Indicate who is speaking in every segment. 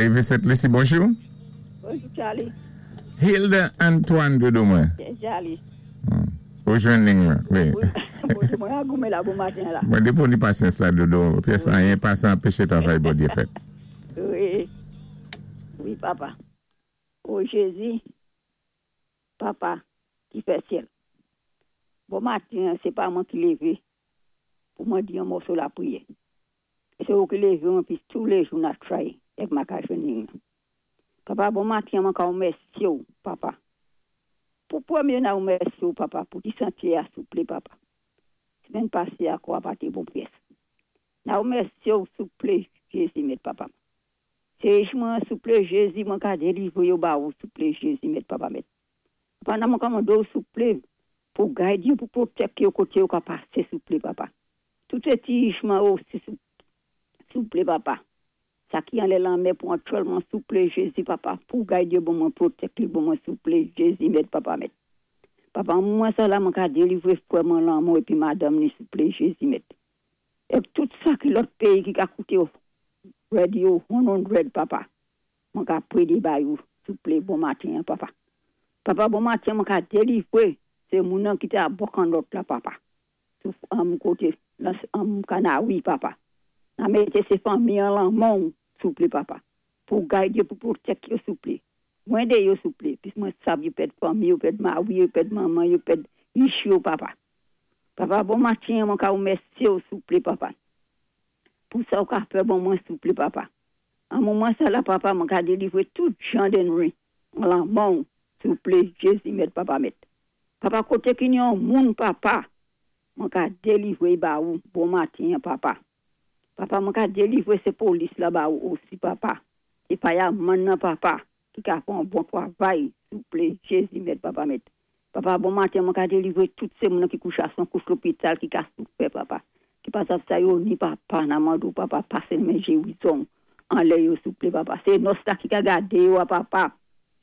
Speaker 1: Lévi Sent Lisi, bonjou.
Speaker 2: Bonjou, Charlie.
Speaker 1: Hilda Antoine, doudou mwen.
Speaker 2: Yes, Charlie.
Speaker 1: Ou jwenn liy lan, wi.
Speaker 2: Bonjou, mwen a goumen la bon maten la.
Speaker 1: Mwen depi ou ni pasyans la, doudou, pyès anyen pa sa anpeche travay Bondye fèt.
Speaker 2: Wi, papa. O Jézi, papa, ki fè syèl. Bon maten, sé pa mwen ki lévé pou mwen di yon mòso lapriyè. Sé ou ki lévé mwen pi tou lé jou na try èk ma ka jwenn liy lan. Papa, bon maten, mwen ka ou mèsi ou, papa. Pou pwémyé na ou mèsi ou, papa, pou ti santé a, souplé, papa. Simenn pasé a kwa pa té bon pyès. Na ou mèsi ou, souplé, Jézi, mèt papa. Sé mwen, souplé, Jézi, mwen ka délivré yo ba ou, souplé, Jézi, mèt papa, mèt. Papa, nan mwen ka mandé ou, souplé, pou gide yo, pou pwotèk yo koté yo ka pasé, souplé, papa. Tout sé ti mwen osi, souplé, papa. Sa ki anlè lanmè pou aktyèlman, souplé, Jézi, papa, pou gide yo, bon mwen pwotèk li, bon mwen souplé, Jézi, mèt papa, mèt. Papa, mwen sa la, mwen ka délivré frè mwen lanmò épi madanm ni, souplé, Jézi, mèt. Èk tout sa ki lòt péyi ki ka kouté radio 100, papa. Mwen ka prédé ba yo, souplé, bon maten, papa. Papa, bon maten, mwen ka délivré, sé moun nan ki té a bò lòt la, papa. Sou koté, nan Kanawi, papa. Nan mété sé fanmi an lanmen, souplé, papa. Pou gide, pou pwotèk yo, souplé. Mwen dé yo, souplé. Pis mwen sav yo pèd fanmi, yo pèd mawi, yo pèd manman, yo pèd ich yo, papa. Papa, bon maten, mwen ka ou mèsi ou, souplé, papa. Pou sa ou ka fè bon mwen, souplé, papa. An moman sa la, papa, mwen ka délivré tout jan d'ennmi. An lanmen, souplé, Jézi, mèt, papa, mèt. Papa, koté ki yon moun, papa, mwen ka délivré ba ou, bon maten, papa. Papa, mwen ka délivré sé polis la ba ou osi, papa. É fireman nan, papa, ki ka fè yon bon travay, souplé, Jézi, mèt, papa, mèt. Papa, bon maten, mwen ka délivré tout sé moun ki kouché a son kouch lopital, ki ka soufè, papa. Ki pa sav sa yo ni papa, nan mandou, papa, pasé men gérizon. Anlè yo, souplé, papa. Sé nòs la ki ka gadé yo, papa.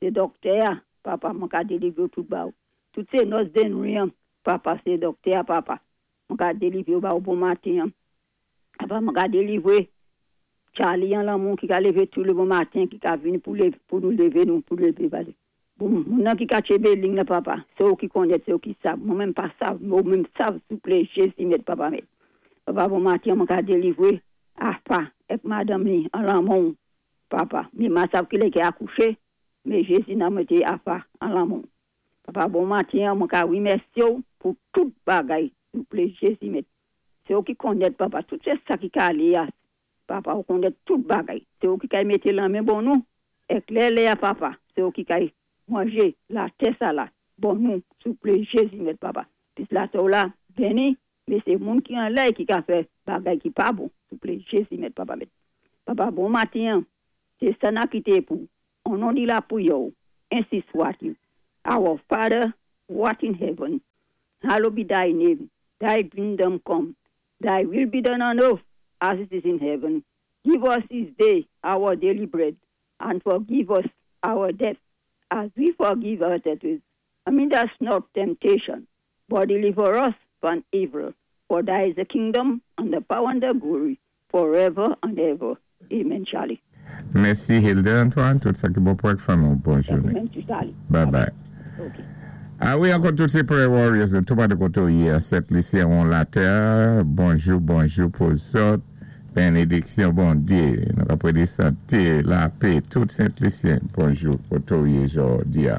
Speaker 2: Sé doktè, papa, mwen ka délivré tout ba ou. Tout sé nòs Dennery, papa, sé doktè, papa. Mwen ka délivré ba ou bon maten. Papa, mwen ka délivré Charlie an lanmou ki ka lévé tou lé bon maten, ki ka vini pou, lévé, pou nou lévé nou, pou lévé, pale. Bon, moun nan ki ka tchébé liy la, papa, sé ou ki konnèt, sé ou ki sav. Mwen menm pa sav, mwen menm sav, souplé, Jézi, mèt, papa, mèt. Papa, bon maten, mwen ka délivré, apa, èk madanm ni, an lanmou, papa. Mé ma sav ki lè ki akouché, mé Jézi nan mété apa, an lanmou. Papa, bon maten, mwen ka wimèsyé ou pou tout bagay, souplé, Jézi, mèt. Sé ou ki konnèt, papa, tout sé sa ki ka alé a, papa, ou konnèt tout bagay. Sé ou ki kay mété lanmen bon nou, èk lè lè a, papa, sé ou ki kay manjé latè sa la, bon nou, souplé, Jézi, mèt, papa. Pis latè ou la, béni, mé sé moun ki anlè ki ka fè bagay ki pa bon, souplé, Jézi, mèt, papa, mèt. Papa, bon maten, sé sa na kité pou, o non di lapriyè ou, ensi swa-t-il. Our Father, who art in heaven, hallowed be thy name, thy kingdom come, thy will be done on earth as it is in heaven. Give us this day our daily bread, and forgive us our debts, as we forgive our debtors. And lead us not temptation, but deliver us from evil. For thy is the kingdom, and the power, and the glory, forever and ever. Amen, Charlie.
Speaker 1: Mèsi, Hilda Antoine, tout sa ki bon pou ak fanmi. Bòn jounen.
Speaker 2: Amen, Charlie.
Speaker 1: Bye bye.
Speaker 2: Ok.
Speaker 1: A wi, ankò tout sé prayer warriors, tout pa de koté yé, Sent Lisi an latè. Bonjou, bonjou pou zòt. Bénédiksyon, Bondyé. Nou ka pwédé santé, lapè, tout Sent Lisyen. Bonjou, koté yé jòdi a.